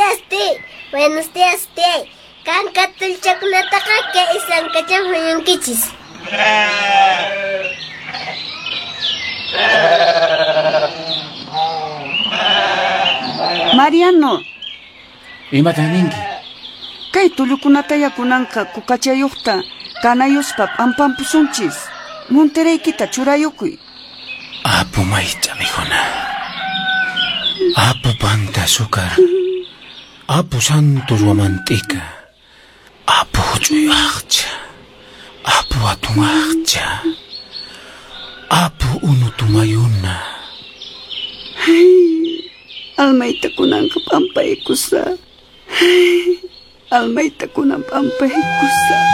días, ti. Buenos días, ti. Kanka tulchakunataqa kay islankacham huñunkichis. Mariano. Imatan ninki? Kay tullukunataya kunanqa kukachayuqta kanayuspa p'ampampusunchis. Monteraykita churayukuy. Apu maycha mikhuna. Apu panta azúcar. Apu Santos Huamantika. Apu huch'uy aqcha. Apu hatun aqcha. Apu unu tumayuna. Ay, almayta kunanqa p'ampaykusaq. Ay, almayta kunan p'ampaykusaq.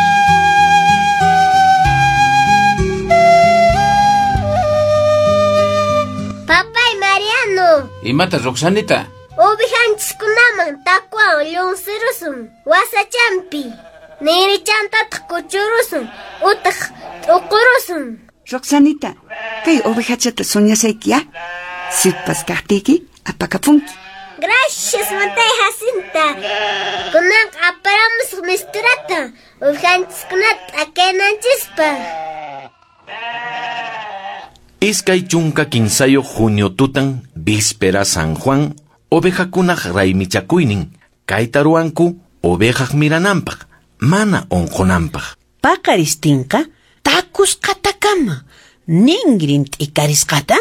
Papay Mariano. Imata Roxanita? Ovejanchiskunaman takwan llunsirusun wasachampi. Ninrichantataq kuchurusun utaq t'uqurusun. Roxanita, kay ovejachata soñasayki, ya? Sipas kaqtiyki apakapunki. Gracias, Mantay Jacinta. Kunanqa aparamusaq misturata ovejanchiskunata t'akaynanchispaq. 23 junio tutan, víspera San Juan, ovejakunaq raymichakuynin, kayta ruwanku ovejaq mirananpaq, mana unqunanpaq. Paqaristinqa takusqatakama, ningrin t'ikarisqata,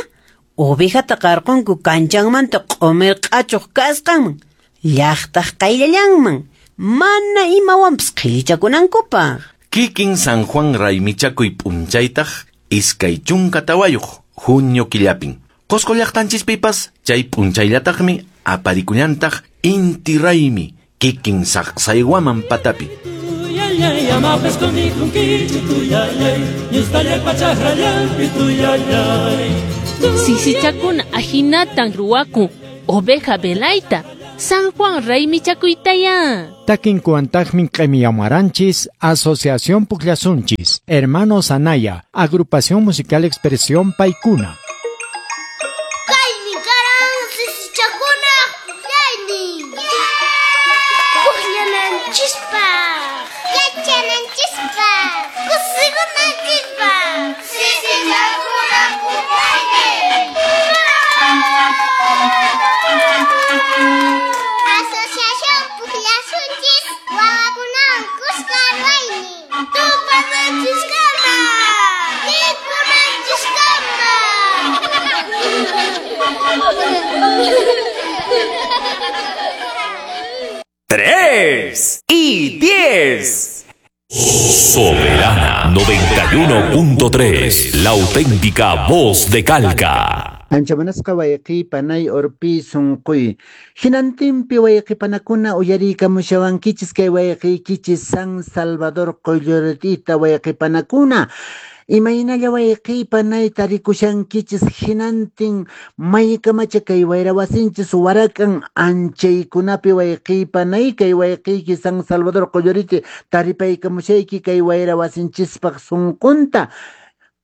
ovejata qarqunku kanchanmanta q'umir q'achuq kasqanman, llaqtaq qayllallanman, mana imawanpas qhillichakunankupaq. Kikin San Juan raymichakuy p'unchaytaq 24 junio killapin. Qosqo llaqtanchispipas chay p'unchayllataqmi aparikullantaq inti raymi kikin saqsaywaman patapi. Sisichakuna ahinatan ruwakun oveja velayta San Juan raymichakuytaya. Takinkuantaqmi q'imiyamaranchis Asociación Pukllasunchis, Hermanos Anaya, Agrupación Musical Expresión Paikuna. Kaymi karan sisichakuna pukllaynin. Pukllananchispaq, yachananchispaq, kusikunanchispaq. Sisichakuna pukllaynin. Asociación Pukllasunchis wawakunawan kuska ruwaynin. Tupananchiskama, mikhunanchiskama. 3 y 10. Soberana 91.3, la auténtica voz de Calca. Ancha munasqa wayqi panay urpi sunquy. Hinantinpi wayqi panakuna uyariykamushawankichis kay wayqiykichis San Salvador Qoyllurtita wayqi panakuna. Imaynalla wayqi panay tarikushankichis hinantin maykamacha kay wayra wasinchis warakan anchaykunapi wayqi panay kay wayqiyki San Salvador Qolluriti taripaykamushayki kay wayra wasinchispaq sunqunta.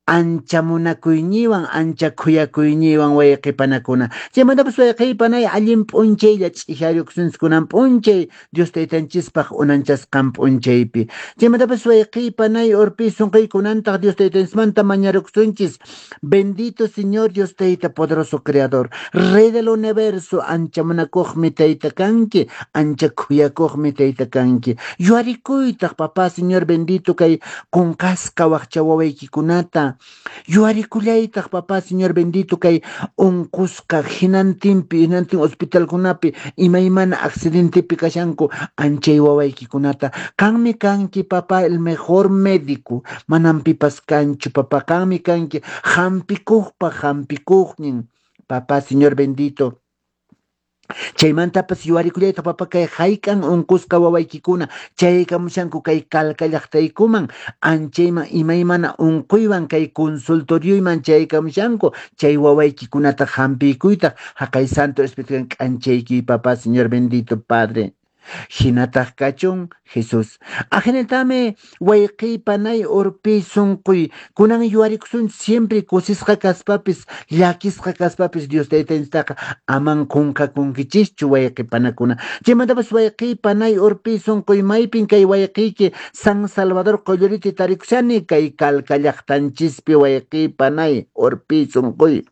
Ancha munakuyñiwan, ancha khuyakuyñiwan wayqi panakuna. Chaymantapas wayqi panay allin p'unchaylla ch'ihariykusunchis p'unchay Dios taytanchispaq unanchasqan p'unchaypi. Chaymantapas wayqi panay urpi sunquykunantaq Dios taytanchismanta mañarukusunchis. Bendito Señor Dios tayta poderoso creador, Rey del universo, ancha munakuqmi tayta kanki, ancha khuyakuqmi tayta kanki. Yuarikuytaq papá Señor bendito kay qunqasqa waqcha wawaykikunata. Yuarikullaytaq papá Señor bendito kay unqusqa hinantinpi hinantin hospitalkunapi imaymana accidentepi kashanku anchay wawaykikunata. Qanmi kanki papá el mejor médico, manam pipas kanchu papá, qanmi kanki hampikuqpa hampikuqnin papá Señor bendito. Chaymantapas yuarikullaytaq papá kay hayk'an unqusqa wawaykikuna chaykamushanku kay Calca llaqtaykuman anchayman imaymana unquywan kay consultorioyman chaykamushanku chay wawaykikunata hampiykuytaq haqay Santo Espíritu k'anchayki papá Señor bendito Padre. Hinataq kachun Jesús. Ajinatami wayqiy panay urpi sunquy kunan yuwarikusun siempre kusisqa kaspapis llakisqa kaspapis Dios taytanchistaqa aman qunqakunkichischu wayqi panakuna. Chaymantapas wayqiy panay urpi sunquy maypin kay wayqiyki San Salvador Qolloriti tarikushani kay Calca llaqtanchispi wayqiy panay urpi sunquy.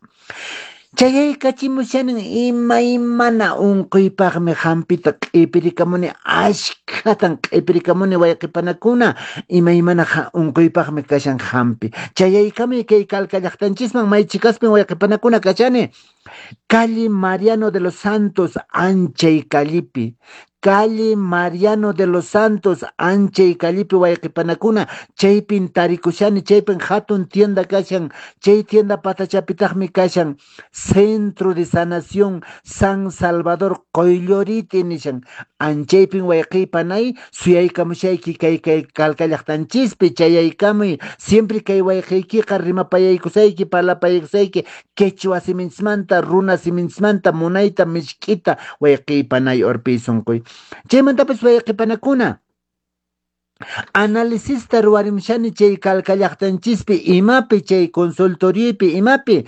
Chayaykachimushanin imaymana unquypaqmi hampita q'ipirikamuni ashkhatan q'ipirikamuni wayqipanakuna imaymana unquypaqmi kashan hampi. Chayaykamuy kay Calca llaqtanchisman may chikaspin wayqipanakuna kashani. Calle Mariano de los Santos anchay callepi. Calle Mariano de los Santos anchay callepi wayqipanakuna chaypin tarikushani chaypin hatun tienda kashan chay tienda patachapitaqmi kashan Centro de Sanación San Salvador Qoylloriti nishan anchaypin wayqipanay suyaykamushayki kay kay Calca llaqtanchispi chayaykamuy siempre kay wayqiykiqa rimapayaykusayki parlapayaykusayki quechua siminchismanta runa siminchismanta munayta misk'ita wayqipanay urpi sunquy. Chaymantapas wayqipanakuna analisista ruwarimushani chay Calca llaqtanchispi imapi chay consultoriopi imapi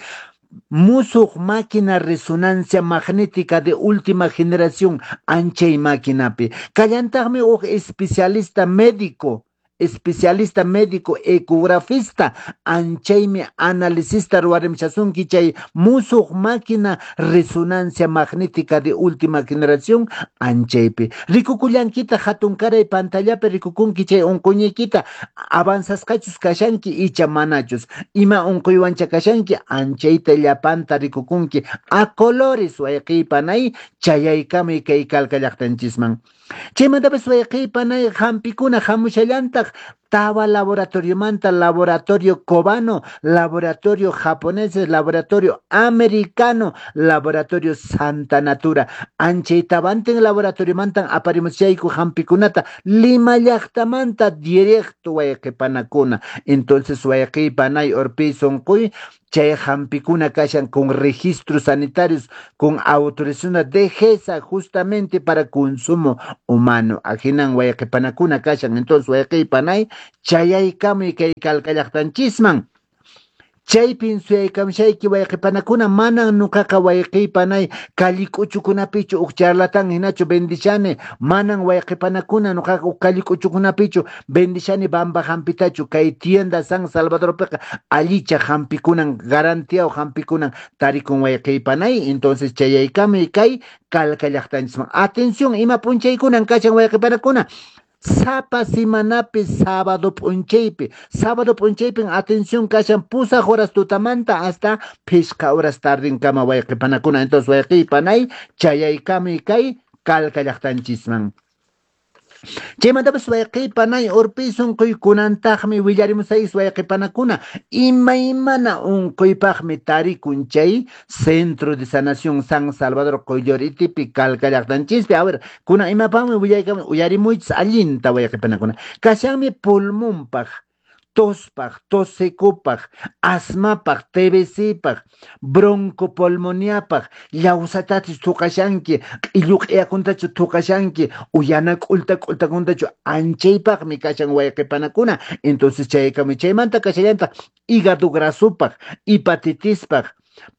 musuq máquina resonancia magnética de última generación anchay maquinapi kallantaqmi huk especialista médico especialista médico ecografista anchaymi analisista ruwarimushasunki chay musuq máquina resonancia magnética de última generación anchaypi rikukullankita hatunkaray pantallapi rikukunki chay unquyniykita avanzasqachus kashanki icha manachus ima unquywancha kashanki anchayta llapanta rikukunki a colores wayqiypanay chayaykamuy kay Calca llaqtanchisman. Chaymantapas wayqiypanay hampikuna hamushallantaq tawa laboratoriomanta laboratorio cubano, laboratorio japoneses, laboratorio americano, laboratorio Santa Natura. Anchay tawantin laboratoriomantan aparimushayku hampikunata Lima llaqtamanta directo wayqipanakuna. Entonces wayqiypanay urpi sunquy chay hampikuna kashan con registros sanitarios, con autorización de DGESA justamente para consumo humano. Ahinan wayqipanakuna kashan. Entonces wayqiypanay chayaykamuy kay Calca llaqtanchisman. Chaypin suyaykamushayki wayqipanakuna manan nuqaqa wayqiypanay kallik'uchukunapichu huk charlatán hinachu vendishani manan wayqipanakuna nuqaqa huk kallik'uchukunapichu vendishani bamba hampitachu kay tienda San Salvadorpiqa allicha hampikunan garantiaw hampikunan tarikun wayqiypanay. Entonces chayaykamuy kay Calca llaqtanchisman. Atención ima p'unchaykunan kashan wayqipanakuna. Sapa semanapi sábado p'unchaypi. Sábado p'unchaypin atención kashan pusaq horas tutamanta hasta phisqa horas tardinkama wayqipanakuna. Entonces wayqiypanay chayaykamuy kay Calca llaqtanchisman. Chaymantapas wayqipanay urpi sunquy kunantaqmi willarimusayis wayqipanakuna imaymana unquypaqmi tarikun chay Centro de Sanación San Salvador Qolloritipi Calca llaqtanchispi. A ver, kunan imapaqmi willaykamun uyarimuychis allinta wayqipanakuna. Kashanmi pulmonpaq, tospaq, tos secopaq, asmapaq, TBCpaq, broncopulmoniapaq, llawsatachu thuqashanki, q'illu q'iyakuntachu thuqashanki, uyana k'ulta k'ultakuntachu anchaypaqmi kashan wayqipanakuna. Entonces chaykamuy chaymanta kashallantaq hígado grasopaq, hepatitispaq,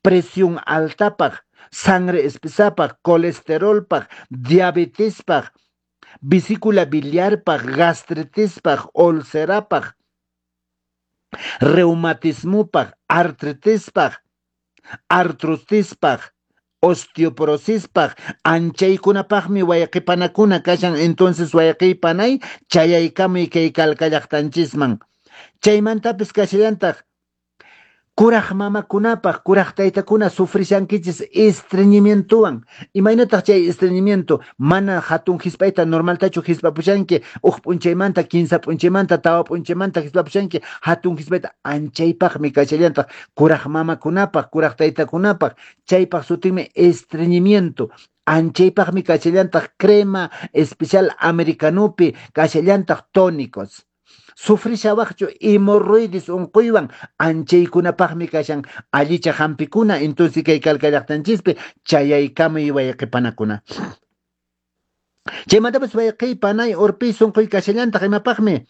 presión altapaq, sangre espesapaq, colesterolpaq, diabetespaq, vesícula biliarpaq, gastritispaq, ulcerapaq, reumatismopaq, artritispaq, artrotispaq, osteoporosispaq, anchaykunapaqmi wayqipanakuna kashan. Entonces wayqipanay chayaykamuy kay Calca llaqtanchisman. Chaymantapis kashallantaq kuraq mamakunapaq, kuraq taytakuna sufrishankichis estreñimientowan. Imaynataq chay estreñimiento mana hatun hisp'ayta normaltachu hisp'apushanki, huk p'unchaymanta, kinsa p'unchaymanta, tawa p'unchaymanta hisp'apushanki, hatun hisp'ayta anchaypaqmi kashallantaq kuraq mamakunapaq, kuraq taytakunapaq. Chaypaq sutinmi estreñimiento. Anchaypaqmi kashallantaq crema especial americanopi, kashallantaq tónicos. Sufrishawaqchu hemorroides unquywan anchaykunapaqmi kashan allicha hampikuna. Entonces kay Calca llaqtanchispi chayaykamuy wayqipanakuna. Chaymantapas wayqiy panay urpiy sunquy kashallantaq imapaqmi?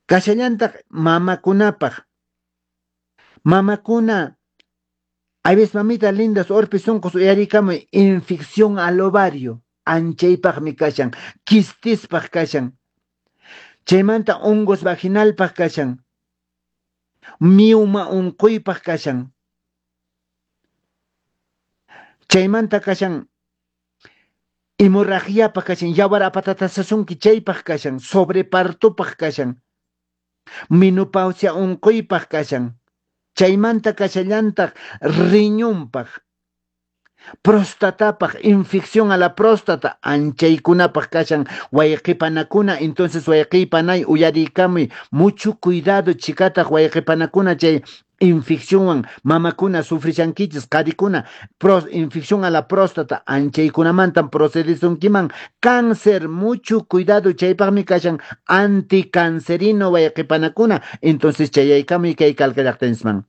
Kashallantaq mamakunapaq. Mamakuna, hay veces mamita lindas urpi sunqus uyarikamuy infección al ovario anchaypaqmi kashan, quistispaq kashan. Chaymanta hongos vaginalpaq kashan. Mioma unquypaq kashan. Chaymanta kashan hemorragiapaq kashan, yawar apatatasasunki chaypaq kashan, sobrepartopaq kashan, menopausia unquypaq kashan, chaymanta kashallantaq riñonpaq, prostatapaq, infección a la próstata, anchaykunapaq kashan, wayqipanakuna, entonces wayqipanay uyariykamuy, mucho cuidado chikataq wayqipanakuna chay infeccionwan mamakuna sufrishankichis, qharikuna, infección a la próstata, anchaykunamantan procedisunkiman, cáncer, mucho cuidado, chaypaqmi kashan anticancerino wayqipanakuna, entonces chayaykamuy kay Calca llaqtanchisman.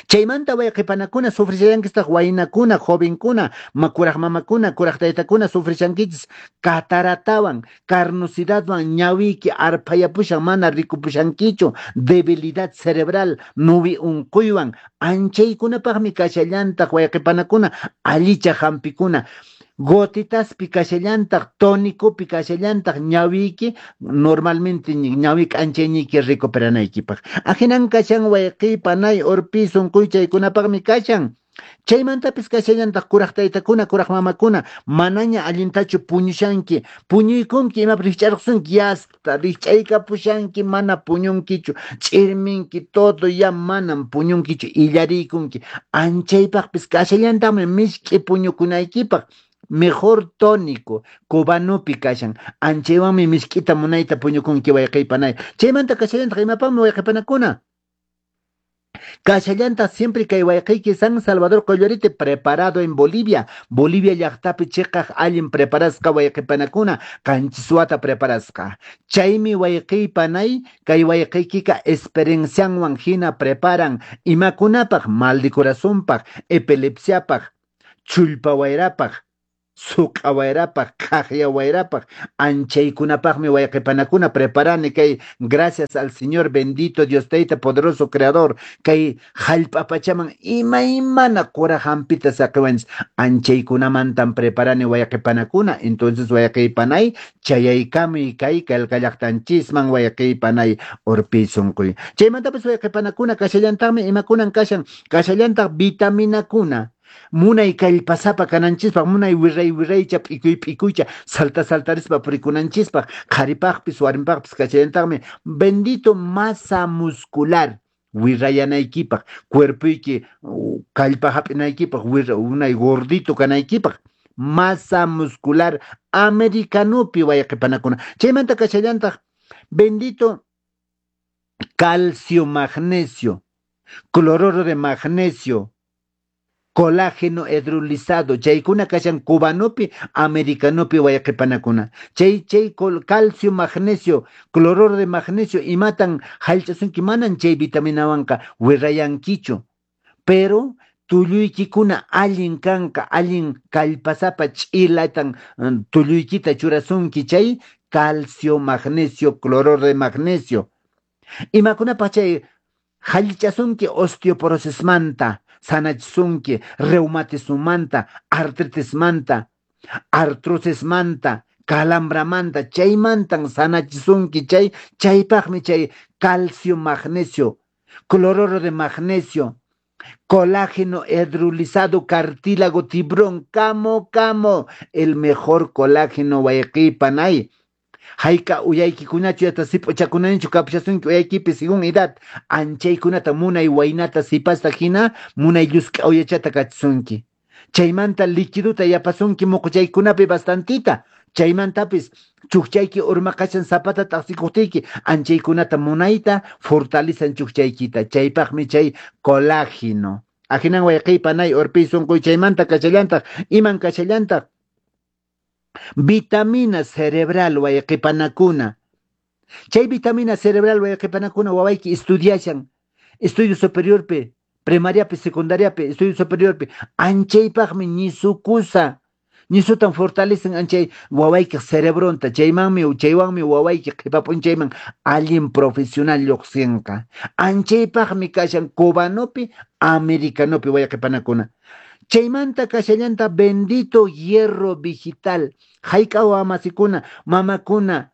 Chaymanta wayqipanakuna sufrishallankistaq waynakuna, jovenkuna, kuraq mamakuna, kuraq taytakuna sufrishankichis cataratawan, carnosidadwan ñawiyki arphayapushan mana rikupushankichu, debilidad cerebral, nuwi unquywan, anchaykunapaqmi kashallantaq wayqipanakuna, allicha hampikuna. Gotitaspi kashallantaq, tónicopi kashallantaq ñawiyki normalmente ñawi k'anchayniyki recuperanaykipaq. Ahinan kashan wayqiy panay urpi sunquy chaykunapaqmi kashan. Chaymantapis kashallantaq kuraq taytakuna, kuraq mamakuna, manaña allintachu puñushanki, puñuykunki imapi rikch'arqusunki, yasta rikch'aykapushanki, mana puñunkichu, ch'irminki, todo ya manam puñunkichu, illariykunki. Anchaypaqpis kashallantaqmi misk'i puñukunaykipaq. Mejor tónico, cubanopi kashan. Anchaywanmi misk'ita munayta puñukunki wayqiypanay. Chaymanta kashallantaq imapaqmi wayqipanakuna? Kashallantaq siempre kay wayqiyki San Salvador Qollorite preparado en Bolivia. Bolivia llaqtapi chiqaq allin preparasqa wayqipanakuna, qanchis wata preparasqa. Chaymi wayqiypanay kay wayqiykika experiencianwan hina preparan imakunapaq mal de corazonpaq, epilepsiapaq, chullpa wayrapaq, suq'a wayrapaq, qhaqya wayrapaq, anchaykunapaqmi wayqipanakuna preparani kay gracias al Señor bendito Dios Tayta poderoso creador kay hallp'a pachaman imaymana qura hampita saqiwanchis anchaykunamantan preparani wayqipanakuna entonces wayqiypanay chayaykamuy kay Calca llaqtanchisman wayqiypanay urpiy sunquy. Chaymantapas wayqipanakuna kashallantaqmi imakunan kashan kashallantaq vitaminakuna munay kallpasapa kananchispaq, munay wirray wirraycha, p'ikuy p'ikuycha, salta saltarispa purikunanchispaq, qharipaqpis warmipaqpis kashallantaqmi bendito masa muscular wirrayanaykipaq, cuerpoyki kallpa hap'inaykipaq, munay gordito kanaykipaq, masa muscular americanopi wayqipanakuna. Chaymanta kashallantaq bendito calcio magnesio, cloruro de magnesio, colágeno hidrolizado, chaykuna kashan cubanopi, americanopi wayqipanakuna. Chay chay calcio magnesio, cloruro de magnesio imatan hallch'asunki manan chay vitaminawanqa wirrayankichu. Pero tulluykikuna allin kanqa, allin kallpasapa ch'ilatan tulluykita churasunki chay calcio magnesio, cloruro de magnesio. Imakunapaq chay hallichasunki osteoporosismanta, sanachisunki reumatismomanta, artritismanta, artrosismanta, calambramanta, chaymantan sanachisunki chay, chaypaqmi chay calcio magnesio, cloruro de magnesio, colágeno hidrolizado, cartílago, tiburón, camo, camo, el mejor colágeno wayqipanay. Hayka uyaykikunachu yata sip'uchakunanichu kapushasunki uyaykipi según edad, anchaykunata munay waynata sipasta hina munay llusk'a uyachata kachisunki. Chaymanta liquidota yapasunki muquchaykunapi bastantita. Chaymantapis chukchayki urmaqashan zapata t'aqsikuqtiyki anchaykunata munayta fortalizan chukchaykita. Chaypaqmi chay colágeno. Ahinan wayqiypanay urpiy sunquy chaymanta kashallantaq iman kashallantaq vitamina cerebral wayqipanakuna. Chay vitamina cerebral wayqipanakuna wawayki estudiashan estudio superiorpi, primariapi, secundariapi, estudio superiorpi, anchaypaqmi ñisukusa. Ñisutan fortalecen anchay wawaykiq cerebronta, chaymanmi chaywanmi wawayki qhipa p'unchayman allin profesional lluqsinqa. Anchaypaqmi kashan cubanopi, americanopi wayqipanakuna. Chaymanta kashallanta bendito hierro vegetal. Hayk'a wamasikuna, mamakuna,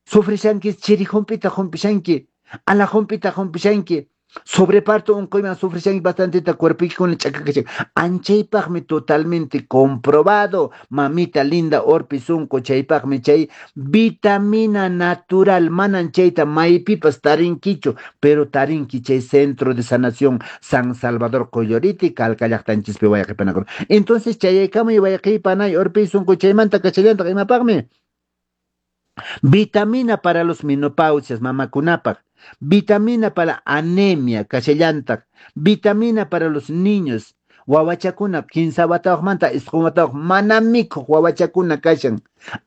sufrishanki chiri hump'ita humpishanki, ala hump'ita humpishanki, sobreparto unquyman sufrishanki bastanteta cuerpoykikuna ch'akakashan. Anchaypaqmi totalmente comprobado, mamita linda orpi sunqu, chaypaqmi chay vitamina natural, manan chayta maypipas tarinkichu, pero tarinki chay Centro de Sanación San Salvador Qolloriti, Calca llaqtanchispi wayqipanakuna. Entonces chayaykamuy wayqipanay orpi sunqu, chaymanta kachallantaq imapaqmi? Vitamina para los menopausias, mamakunapaq. Vitamina para anemia, kashallantaq. Vitamina para los niños. Wawachakuna, 15 watayuqmanta 9 watayuq mana mikhuq wawachakuna kashan.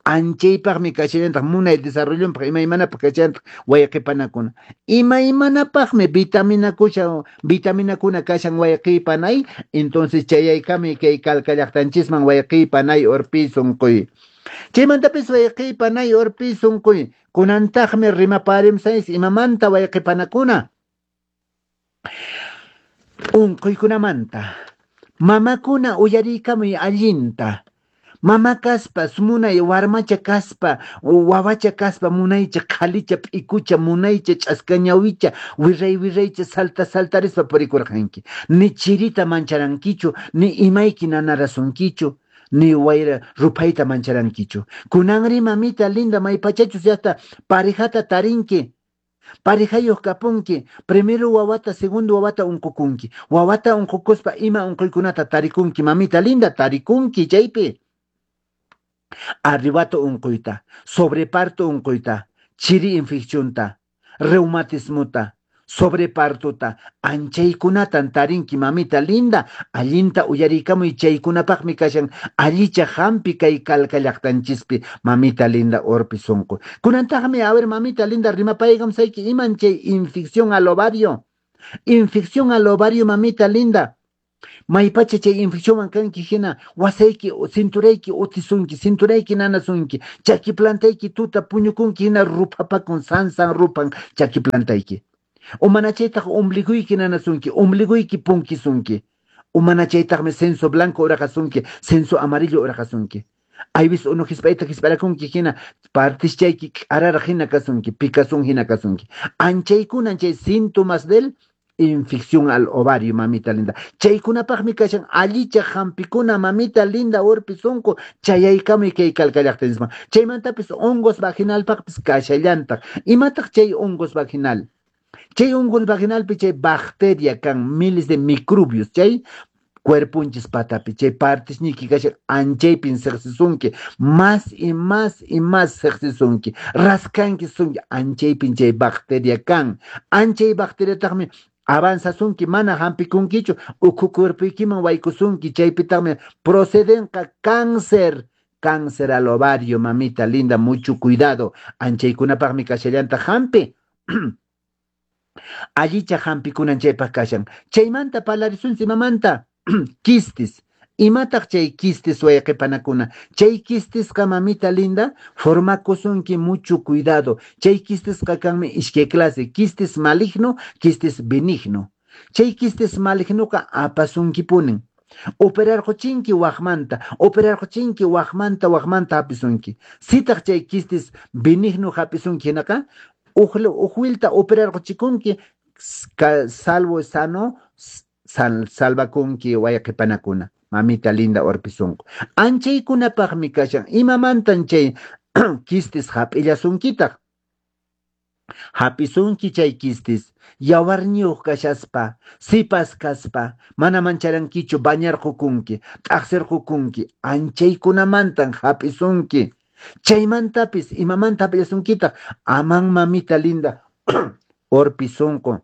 Anchaypaqmi kashallantaq munay desarrollonpaq imaymanapaq kashallantaq wayqipanakuna. Imaymanapaqmi vitaminakuna kashan wayqipanay. Entonces chayaykamuy kay Calca llaqtanchisman wayqipanay urpi sunquy. Chaymantapis wayqipanay urpi sunquy. Kunantaqmi rimaparimsayis imamanta wayqipanakuna. Unquykunamanta. Mamakuna uyariykamuy allinta. Mama kaspa, munay warmacha kaspa, wawacha kaspa, munaycha qhalicha p'ikucha, munaycha ch'askañawicha, wirray wirraycha salta saltarispa purikurqanki. Ni chirita mancharankichu, ni imayki nanarasunkichu, ni wayra ruphayta mancharankichu. Kunanri mamita linda maypachachus llaqta parejata tarinki. Parejayuq kapunki, primero wawata, segundo wawata unqukunki. Wawata unqukuspa ima unquykunata tarikunki, mamita linda tarikunki chaypi. Arrebato unquyta, sobreparto unquyta, chiri infeccionta, reumatismota, sobrepartota, anchaykunatan tarinki mamita linda, allinta uyariykamuy chaykunapaqmi kashan allicha hampi kay Calca llaqtanchispi mamita linda urpi sunqu. Kunantaqmi, a ver mamita linda rimapaykamsayki iman chay infección al ovario. Infección al ovario mamita linda. Maypacha chay infeccionwan kanki hina wasayki cinturayki utisunki, cinturayki nanasunki, chaki plantayki tuta puñukunki hina ruphapakun sansan rupan chaki plantayki. Umanachaytaq ombliguyki nanasunki, ombliguyki punkisunki. Umanachaytaqmi censo blanco uraqasunki, censo amarillo uraqasunki. Aybis unu hisp'ayta hisp'arakunki hina partischayki k'araraq hina kasunki, pikasun hina kasunki. Anchaykunan chay síntomas del infección al ovario, mamita linda. Chaykunapaqmi kashan allicha hampikuna, mamita linda urpi sunqu, chayaykamuy kay Calca llaqtanchisman. Chaymantapis hongos vaginalpaqpis kashallantaq. Imataq chay hongos vaginal? Chay hongos vaginalpi chay bacteria kan miles de microbios, chay cuerpunchis patapi, chay partisniki kashan anchaypin siqsisunki, más y más y más siqsisunki, raskanki sunki, anchaypin chay bacteria kan. Anchay bacteriataqmi avanzasunki, mana hampikunkichu, ukhu cuerpuykiman waykusunki, chaypitaqmi procedenqa cáncer, cáncer al ovario, mamita linda, mucho cuidado. Anchaykunapaqmi kashallanta hampi. Allicha hampikunan chaypaq kashan. Chaymanta parlarisunchis imamanta? Quistes. Imataq chay quistes wayqipanakuna? Chay quistesqa mamita linda formakusunki mucho cuidado. Chay quistesqa kanmi iskay clase, quistes maligno, quistes benigno. Chay quistes malignoqa apasunkipunin. Operarquchinki waqmanta, operarquchinki waqmanta, waqmanta hapisunki. Sitaq chay quistes benigno hapisunki hinaqa, uj operarquchikunki, salvo sano, salvakunki wayqipanakuna. Mamita linda urpisunqu. Anchaykunapaqmi kashan. Imamantan chay quistes hap'illasunkitaq? Hapisunki chay quistes, yawarniyuq kashaspa, sipas kaspa, mana mancharankichu bañarqukunki, t'aqsirqukunki, anchaykunamantan hap'isunki. Chaymantapis imamanta hap'illasunkitaq? Aman mamita linda urpisunqu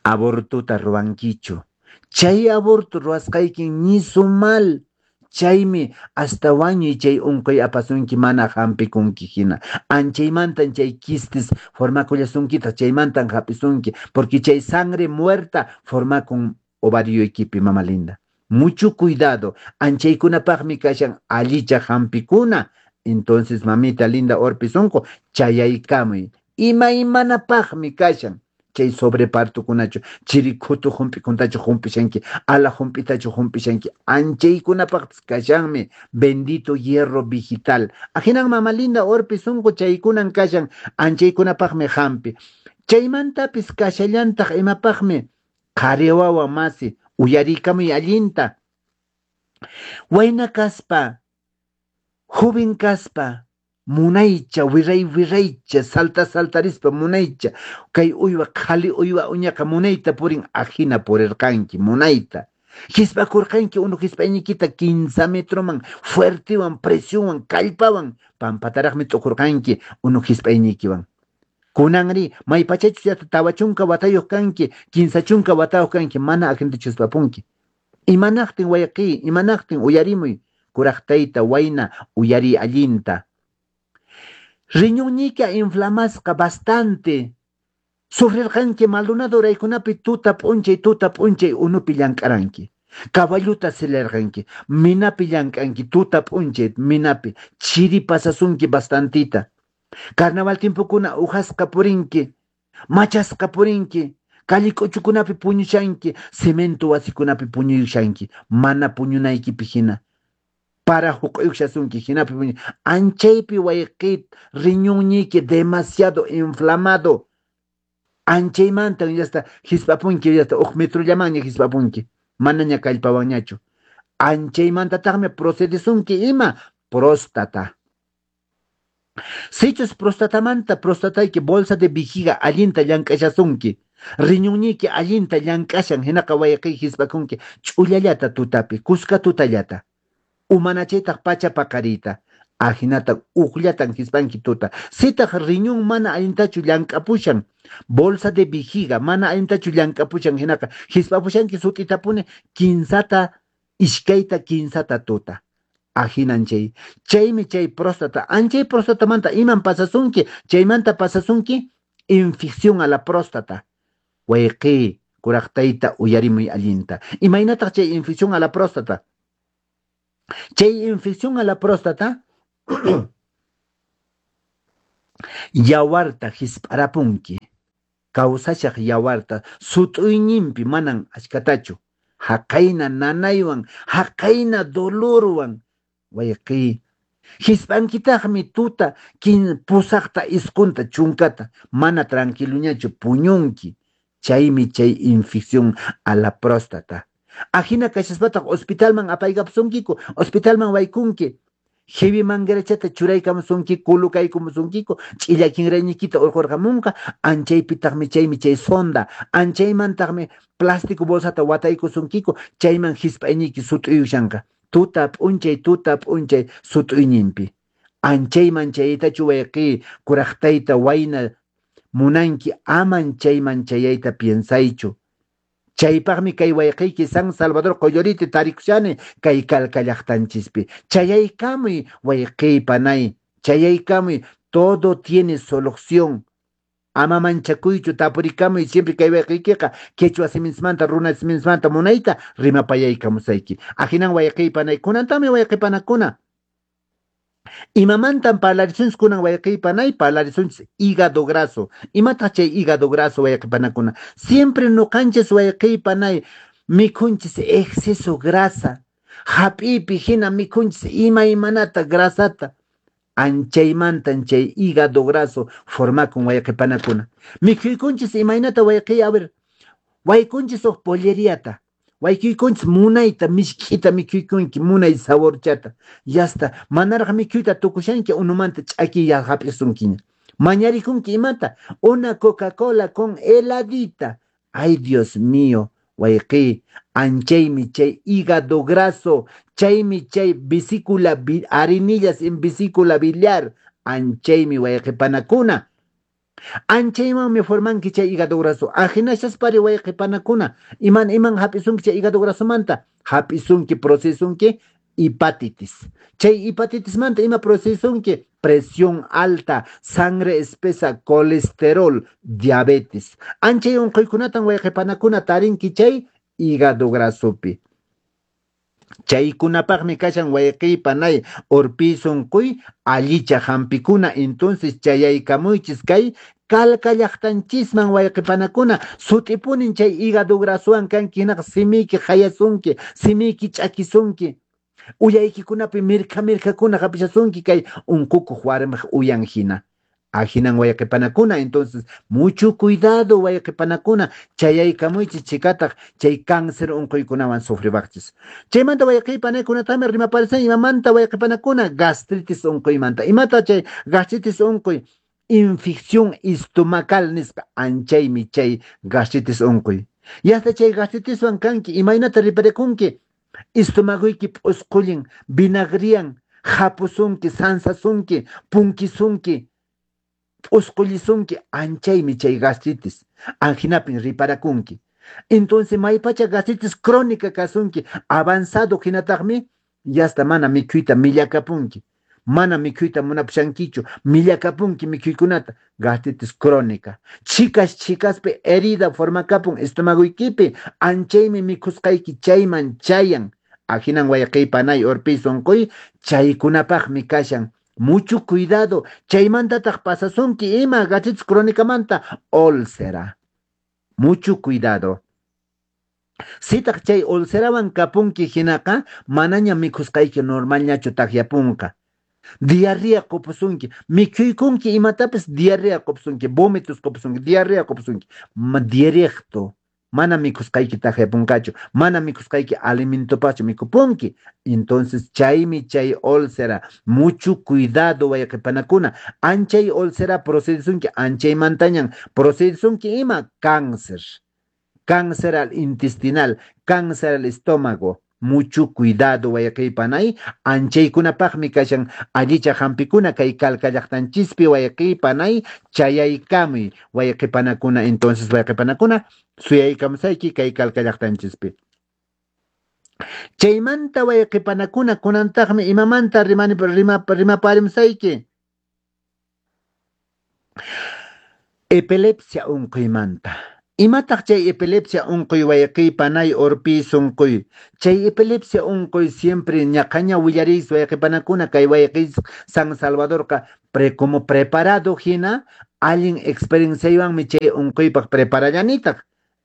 abortuta ruwankichu. Chay aborto ruwasqaykin ñisu mal. Chaymi hasta wañuy chay unquy apasunki mana hampikunki hina. Anchaymantan chay quistes formakullasunkitaq, chaymantan hapisunki, porque chay sangre muerta formakun ovarioykipi, mama linda. Mucho cuidado, anchaykunapaqmi kashan allichaq hampikuna. Entonces, mamita linda Orpi sunqu, chayaykamuy. Imaymanapaqmi kashan chay sobrepartokunachu, chiri khutu hump'ikuntachu humpishanki, ala hump'itachu humpishanki, anchaykunapaqpis kashanmi bendito hierro vegetal. Ahinan mama linda Orpi sunqu chaykunan kashan, anchaykunapaqmi hampi. Chaymantapis kashallantaq imapaqmi qhari wawa masi, uyarikamuy allinta. Wayna kaspa, joven kaspa, munaycha, wirray wirraycha, salta saltarispa munaycha, kay uywa qhali uywa uñaqa munayta purin, ajina purirqanki, munayta. Hisp'akurqanki unu hisp'ayniykita 15 metroman, fuertewan, presionwan, kallpawan, pampataraqmi t'ukurqanki unu hisp'ayniykiwan. Kunanri, maypachachus llaqta 40 watayuq kanki, 30 watayuq kanki, mana ajintachu hisp'apunki. Imanaqtin wayqiy, imanaqtin uyarimuy, kuraq tayta wayna uyariy allinta. Riñonñiyka inflamasqa bastante. Sufrirqanki Maldonado uraykunapi tuta p'unchay unupi llank'aranki. Caballuta silarqanki, minapi llank'anki, tuta p'unchay minapi, chiri pasasunki bastantita. Carnaval tiempokuna ujasqa purinki, machasqa purinki, calle k'uchukunapi puñushanki, cemento wasikunapi puñuyushanki, mana puñunaykipi hina. Para huq'uyushasunki hinapi puñu. Anchaypi wayqi riñonñiyki demasiado inflamado. Anchaymantan yasta hisp'apunki, yasta uq metrollamanña hisp'apunki, manaña kallpawanñachu. Anchaymantataqmi procedesunki ima próstata. Sichus prostatamanta prostatayki bolsa de vejiga allinta llank'ashasunki, riñonñiyki allinta llank'ashan, hinaqa wayqiy hisp'akunki ch'ullallata tutapi, kuska tutallata. Umanachaytaq pacha paqariyta, ahinata uqllatan hisp'anki tuta. Sitaq riñón mana allintachu llank'apushan, bolsa de vejiga mana allintachu llank'apushan, hinaqa hisp'apushanki sut'itapuni 15 iskayta 15 tuta. Ahinan chay. Chaymi chay próstata. Anchay próstatamanta iman pasasunki, chaymanta pasasunki infección a la próstata. Wayqi, kuraq tayta uyarimuy allinta. Imaynataq chay infección a la próstata? Chay infección a la próstata yawarta hisp'arapunki. Kawsashaq yawarta sut'uyninpi manan achkatachu. Haqayna nanaywan, haqayna dolorwan, wayqi. Hisp'ankitaqmi tuta 8 9 10 mana tranquiloñachu puñunki. Chaymi chay infección a la próstata. Ajina kashaspataq hospitalman apaykapusunkiku, hospitalman waykunki. Heavy manguerachata churaykamusunki, kulukaykamusunkiku, ch'illa kinrayniykita urqurqamunqa, anchaypitaqmi chaymi chay sonda, anchaymantaqmi plástico bolsata wataykusunkiku, chayman hisp'ayniyki sut'uyushanqa. Tuta p'unchay sut'uyninpi. Anchayman chayaytachu wayqi, kuraq tayta wayna munanki, aman chayman chayayta piensaychu. Chaypaqmi kay wayqiyki San Salvador Qolloriti tarikushani kay Calca llaqtanchispi. Chayaykamuy wayqiy panay, chayaykamuy, todo tiene solución. Ama manchakuychu, tapurikamuy siempre kay wayqiykiqa quechua siminsmanta, runa siminsmanta munayta rimapayaykamusayki. Ahinan wayqiy panay, kunantami wayqi panakuna. Imamantan parlarisunchis kunan wayqiy panay, parlarisunchis hígado graso. Imataq chay hígado graso wayqi panakuna? Siempre nuqanchis wayqiy panay mikhunchis exceso grasa. Hap'iypi hina mikhunchis imaymanata grasata. Anchaymantan chay hígado graso formakun wayqi panakuna. Mikhuykunchis imaynata wayqiy, a ver, waykunchis huk polleriata. Waykuykunchis munayta misk'ita mikhuykunki, munay saborchata. Yasta, manaraq mikhuyta tukushanki unumanta ch'akiy hap'isunkiña. Mañarikunki imata? Una Coca-Cola con heladita. Ay, Dios mío, wayqiy, anchaymi chay hígado graso, chaymi chay vesícula, arenillas en vesícula biliar, anchaymi wayqi panakuna. Anchaymanmi formanki chay hígado graso. Ajinashaspari wayqi panakuna. Iman iman hap'isunki chay hígado grasomanta? Hap'isunki, procesunki hepatitis. Chay hepatitismanta ima procesunki? Presión alta, sangre espesa, colesterol, diabetes. Anchay unquykunatan wayqi panakuna tarinki chay hígado grasopi. Chaykunapaqmi kashan wayqiy panay urpi sunquy allicha hampikuna. Entonces chayaykamuychis kay Calca llaqtanchisman wayqipanakuna, sut'ipunin chay hígado grasuwan kanki hinaqa simiyki hayasunki, simiyki ch'akisunki, uyaykikunapi mirkha mirkhakuna hapishasunki kay unqukuq warmiq uyan hina. Ahinan wayqipanakuna, entonces mucho cuidado wayqipanakuna, chayaykamuychis chikataq chay cáncer unquykunawan sufribaqchis. Chaymanta wayqiypanakunatami rimaparisan imamanta wayqipanakuna gastritis unquymanta. Imata chay gastritis unquy? Infección estomacal nisqa, anchaymi chay gastritis unquy. Yasta chay gastritiswan kanki, imaynata riparikunki? Estomagoyki p'usqullin, vinagriyan, hapusunki, sansasunki, punkisunki, p'usqullisunki, anchaymi chay gastritis. Anginapin riparakunki. Entonces maypacha gastritis crónica kasunki, avanzado hinataqmi, yasta mana mikhuyta millakapunki. Mana mikhuyta munapushankichu, millakapunki mikhuykunata, gastritis crónica. Chhikas chhikaspi herida formakapun estomagoykipi, anchaymi mikhusqayki chayman chayan. Ahinan wayqiy panay urpiy sunquy, chaykunapaqmi kashan. Mucho cuidado, chaymantataq pasasunki ima gastritis crónicamanta úlcera. Mucho cuidado. Sitaq chay ulcerawan kapunki hinaqa, manaña mikhusqayki normalñachu takyapunqa. Diarrea qupusunki, mikhuykunki imatapis diarrea qupusunki, vómitos qupusunki, diarrea qupusunki. Directo, mana mikhusqayki takyapunqachu, mana mikhusqayki alimentopaqchu mikhupunki. Entonces chaymi chay úlcera, mucho cuidado wayqipanakuna, anchay úlcera procedesunki, anchaymantañan procedesunki ima cáncer. Cáncer al intestinal, cáncer al estómago. Mucho cuidado wayqiypanay, anchaykunapaqmi kashan allicha hampikuna kay Calca llaqtanchispi wayqiypanay, chayaykamuy wayqipanakuna. Entonces wayqipanakuna, suyaykamusayki kay Calca llaqtanchispi. Chaymanta wayqipanakuna, kunantaqmi imamanta rimaparimusayki. Epilepsia unquymanta. Imataq chay epilepsia unquy wayqiypanay urpiy sunquy? Chay epilepsia unquy siempre ñaqaña willariys wayqipanakuna kay wayqiy San Salvadorqa como preparado hina allin experienciaywanmi chay unquypaq preparallanitaq.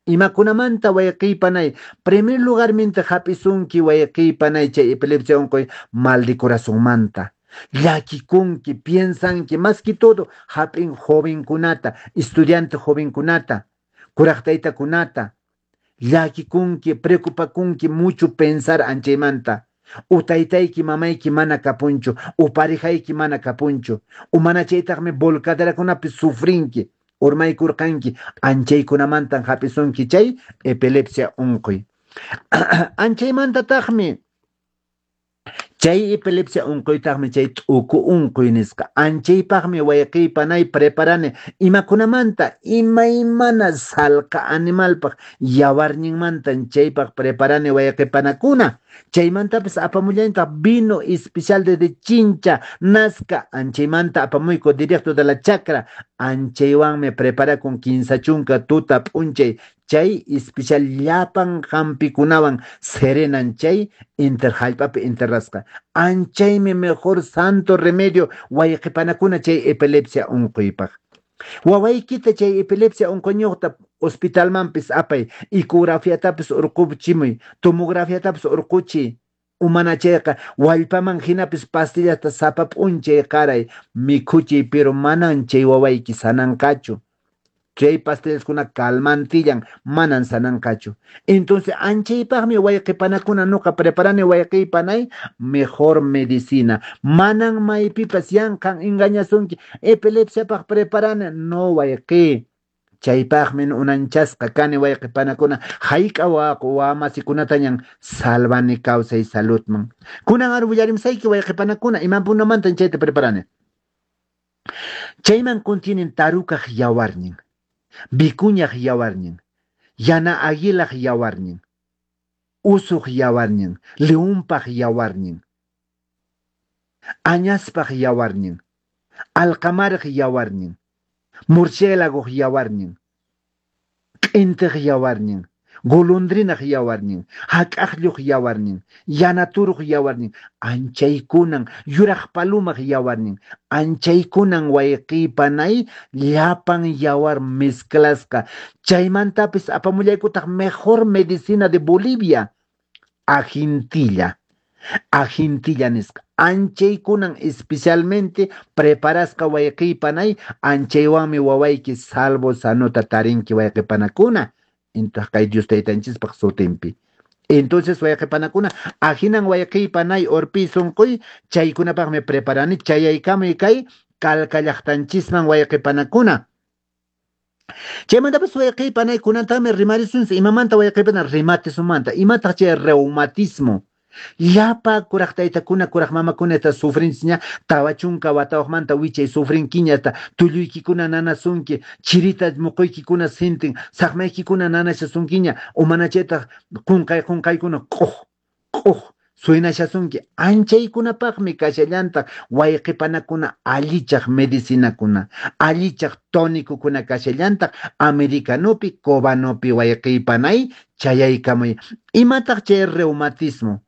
Imakunamanta wayqiypanay, primer lugarminta hap'isunki wayqiypanay chay epilepsia unquy mal de corazonmanta. Llakikunki, piensanki, más que todo hap'in jovenkunata, estudiante jovenkunata, kuraq taytakunata. Llakikunki, preocupakunki mucho pensar anchaymanta. U taytayki mamayki mana kapunchu, u parejayki mana kapunchu, u mana chaytaqmi volcaderakunapi sufrinki, urmaykurqanki, anchaykunamantan hap'isunki chay epilepsia unquy. Anchaymantataqmi chay epilepsia unquytaqmi chay t'uku unquy nisqa. Anchaypaqmi wayqiypanay preparani imakunamanta imaymana salqa animalpaq yawarninmantan chaypaq preparani wayqipanakuna. Chaymantapis apamullantaq vino especial desde Chincha, Nazca, anchaymanta apamuyku directo de la chacra. Anchaywanmi preparakun kinsa chunka tuta p'unchay chay especial llapan hampikunawan serenan chay inter hallp'api enterrasqa. Anchaymi mejor santo remedio wayqipanakuna chay epilepsia unquypaq. Wawaykita chay epilepsia unquyñuqta hospitalmanpis apay, ecografiatapis urquchimuy, tomografiatapis urquchiy. Umana chayqa wallpaman hinapis pastillata sapa p'unchay qaray mikhuchiy, pero manan chay wawayki sananqachu. Chay pastillaskuna calmantillan, manan sananqachu. Entonces anchaypaqmi wayqipanakuna nuqa preparani wayqiypanay mejor medicina. Manan maypipas yanqan engañasunki epilepsiapaq preparani, no wayqi. Chaypaqmi unanchasqa kani wayqipanakuna hayk'a wamasikunatañan salvani kawsay saludman. Kunan ar willarimsayki wayqipanakuna imapunamantan chayta preparani. Chayman contienen tarukaq yawarnin, vicuñaq yawarnin, yana aguilaq yawarnin, usuq yawarnin, leonpaq yawarnin, añaspaq yawarnin, alqamaraq yawarnin, murciélagoq yawarnin, q'intiq yawarnin, Golondrinaq yawarnin, hak'aqlluq yawarnin, yanaturuq yawarnin, anchaykunan, yuraq palumaq yawarnin, anchaykunan wayqipanay llapan yawar mezclasqa. Chaymantapis apamullaykutaq mejor medicina de Bolivia, ajintilla. Ajintilla nisqa. Anchaykunan especialmente preparasqa wayqipanay, anchaywanmi wawayki salvo sanota tarinki wayqipanakuna. Intaq kay Dios taytanchispaq sutinpi. Entonces wayqipanakuna, ahinan wayqipanay urpi sunquy, chaykunapaqmi preparani, chayaykamuy kay Calca llaqtanchisman wayqipanakuna. Chaymantapas wayqipanay kunantaqmi rimarisunchis imamanta wayqipana reumatismomanta, imataq chay reumatismo. Llapa kuraq taytakuna, kuraq mamakuna esta sufrinchisña, 40 watawaqmanta wichay sufrinkiña, hasta tulluykikuna nanasunki, chirita muquykikuna sintin, saqmaykikuna nanashasunkiña, umanachaytaq qunqay qunqaykuna q'uq q'uq suynashasunki. Anchaykunapaqmi kashallantaq wayqipanakuna allichaq medicinakuna, allichaq tónicokuna kashallantaq americanopi, cubanopi wayqipanay chayaykamuy. Imataq chay reumatismo?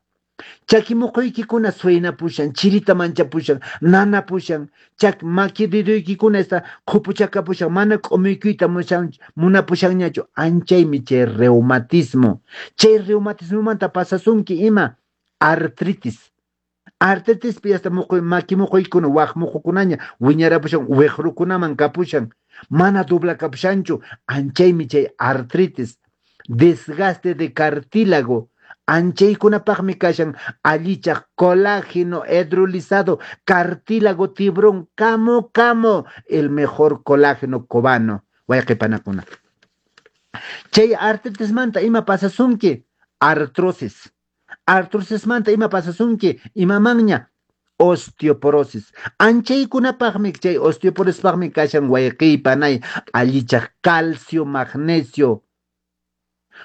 Chaki muquykikuna suynapushan, chirita manchapushan, nanapushan, chak maki dedoykikuna esta qhupuchakapushan, mana k'umuykuyta munapushanñachu. Anchaymi chay reumatismo. Chay reumatismomanta pasasunki ima? Artritis. Artritispi hasta maki muquykuna, waq muqukunaña wiñarapushan, wiqrukunaman kapushan, mana doblakapushanchu. Anchaymi chay artritis. Desgaste de cartílago. Anchaykunapaqmi kashan allichaq colágeno hidrolizado, cartílago tiburón, camo camo, el mejor colágeno cubano. Wayqipanakuna. Chay artritismanta ima pasasunki? Artrosis. Artrosismanta ima pasasunki? Imamanña? Osteoporosis. Anchaykunapaqmi chay osteoporosispaqmi kashan wayqipanay allichaq calcio, magnesio,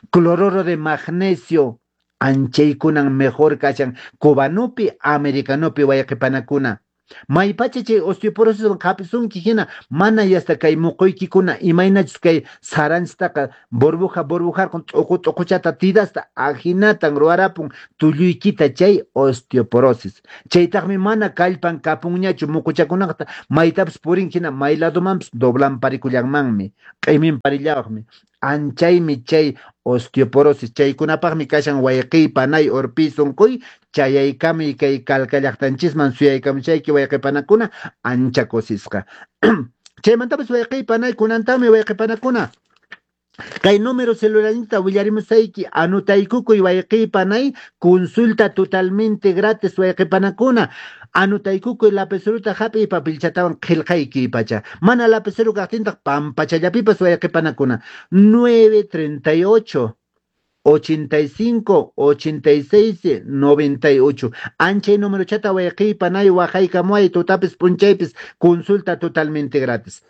cloruro de magnesio. Anchaykunan mejor kashan cubanopi, americanopi wayqipanakuna. Maypacha chay osteoporosis qapisunki hina mana yasta kay muquykikuna imaynachus kay saranchitaqa burbuja burbujarqun t'uqu t'uquchata tidasta ahinatan ruwarapun tulluykita chay osteoporosis. Chaytaqmi mana kallpan kapunñachu muquchakunaqta maytapas purin hina may ladomanpas doblanparikullanmanmi, q'iminparillawaqmi. Anchaymi chay osteoporosis. Chaykunapaqmi kashan wayqipanay urpi sunquy, chayaykamuy kay Calca llaqtanchisman suyaykamushayki wayqipanakuna ancha kusisqa. Chaymantapas wayqipanay kunantaqmi wayqipanakuna. Kay número celularninta willarimusayki, anotaykukuy wayqipanay, consulta totalmente gratis wayqipanakuna. Anotaykukuy lapiceruta hap'iy papelchatawan qillqayki pacha. Mana lapicero kaqtintaq pampachallapipas wayqipanakuna. 938 85 86 98. Anchay numerochata wayqipanay waqaykamuay tutapis p'unchaypis consulta totalmente gratis.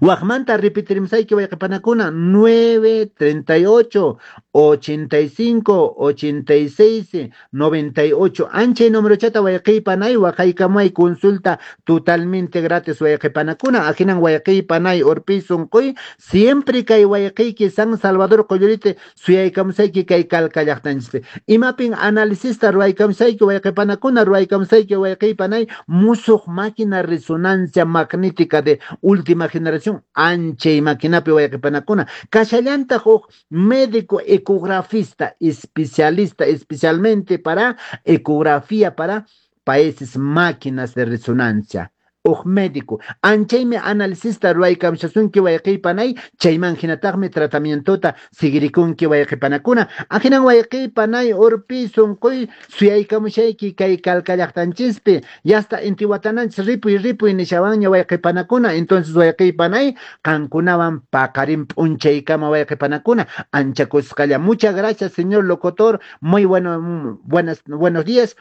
Waqmanta repetirimsayki wayqipanakuna 938 85 86 98. Anchay numerochata wayqipanay waqaykamuay consulta totalmente gratis wayqipanakuna. Ahinan wayqipanay urpi sunquy siempre kay wayqiyki San Salvador Qollurite suyaykamusayki kay Calca llaqtanchispi. Imapin análisista ruwaykamusayki wayqipanakuna, ruwaykamusayki wayqipanay musuq máquina resonancia magnética de última generación anchay maquinapi wayqipanakuna. Kashallantaq huk médico ecografista especialista especialmente para ecografía para países máquinas de resonancia. Uj médico anchaymi analisista ruwaykamushasunki wayqipanay, chayman hinataqmi tratamientota seguirikunki wayqipanakuna. Ahinan wayqipanay urpi sunquy suyaykamushayki kay Calca llaqtanchispi. Yasta intiwatananchis ripuy ripuy nishawanña wayqipanakuna. Entonces wayqipanay qankunawan paqarin p'unchaykama wayqipanakuna ancha kusqalla. Muchas gracias señor locutor, muy bueno, buenos días.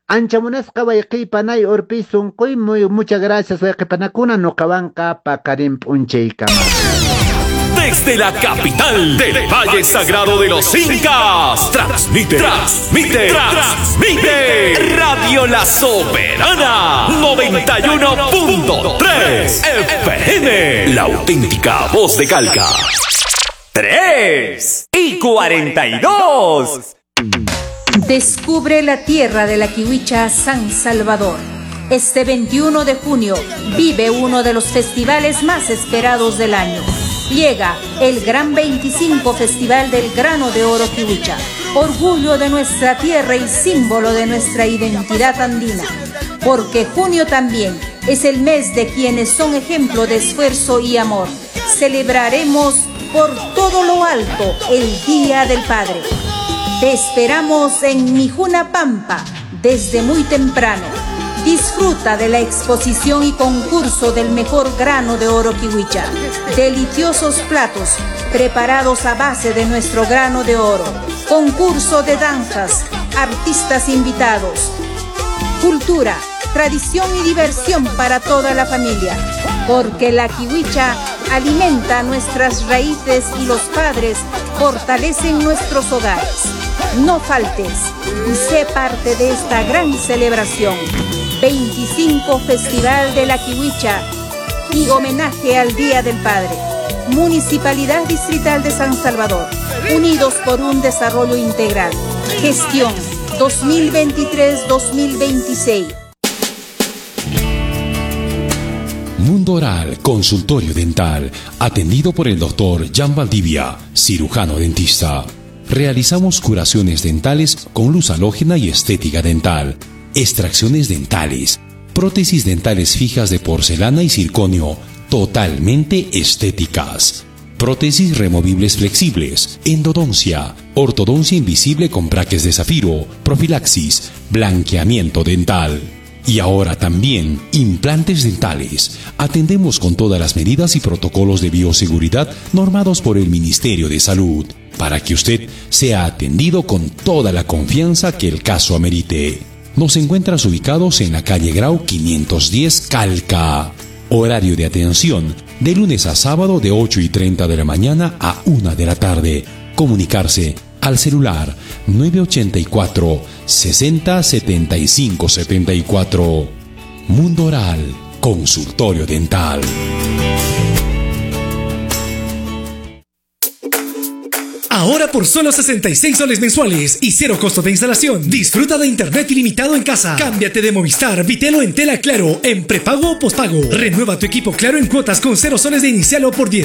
Ancha munasqa wayqipanay urpi sunquy, muy muchas gracias wayqipanakuna, nuqawanqa paqarin p'unchaykama. Desde la capital del Valle Sagrado de los Incas, transmite, transmite, transmite Radio La Soberana 91.3 FM, la auténtica voz de Calca. 3 y 42. Descubre la tierra de la Kiwicha San Salvador. Este 21 de junio vive uno de los festivales más esperados del año. Llega el Gran 25 Festival del Grano de Oro Kiwicha, orgullo de nuestra tierra y símbolo de nuestra identidad andina. Porque junio también es el mes de quienes son ejemplo de esfuerzo y amor. Celebraremos por todo lo alto el Día del Padre. Te esperamos en Mijuna Pampa desde muy temprano. Disfruta de la exposición y concurso del mejor grano de oro kiwicha. Deliciosos platos preparados a base de nuestro grano de oro. Concurso de danzas, artistas invitados. Cultura, tradición y diversión para toda la familia. Porque la kiwicha alimenta nuestras raíces y los padres fortalecen nuestros hogares. No faltes y sé parte de esta gran celebración. 25 Festival de la Kiwicha y homenaje al Día del Padre. Municipalidad Distrital de San Salvador. Unidos por un desarrollo integral. Gestión 2023-2026. Mundo Oral, consultorio dental, atendido por el doctor Jan Valdivia, cirujano dentista. Realizamos curaciones dentales con luz halógena y estética dental, extracciones dentales, prótesis dentales fijas de porcelana y circonio, totalmente estéticas, prótesis removibles flexibles, endodoncia, ortodoncia invisible con braques de zafiro, profilaxis, blanqueamiento dental. Y ahora también implantes dentales. Atendemos con todas las medidas y protocolos de bioseguridad normados por el Ministerio de Salud, para que usted sea atendido con toda la confianza que el caso amerite. Nos encuentras ubicados en la calle Grau 510 Calca. Horario de atención de lunes a sábado de 8:30 de la mañana a 1 de la tarde. Comunicarse al celular 984 60 75 74. Mundo Oral, consultorio dental. Ahora por solo 66 soles mensuales y cero costo de instalación. Disfruta de internet ilimitado en casa. Cámbiate de Movistar, Bitelo en Tela Claro, en prepago o pospago. Renueva tu equipo Claro en cuotas con 0 soles de inicial o por 10.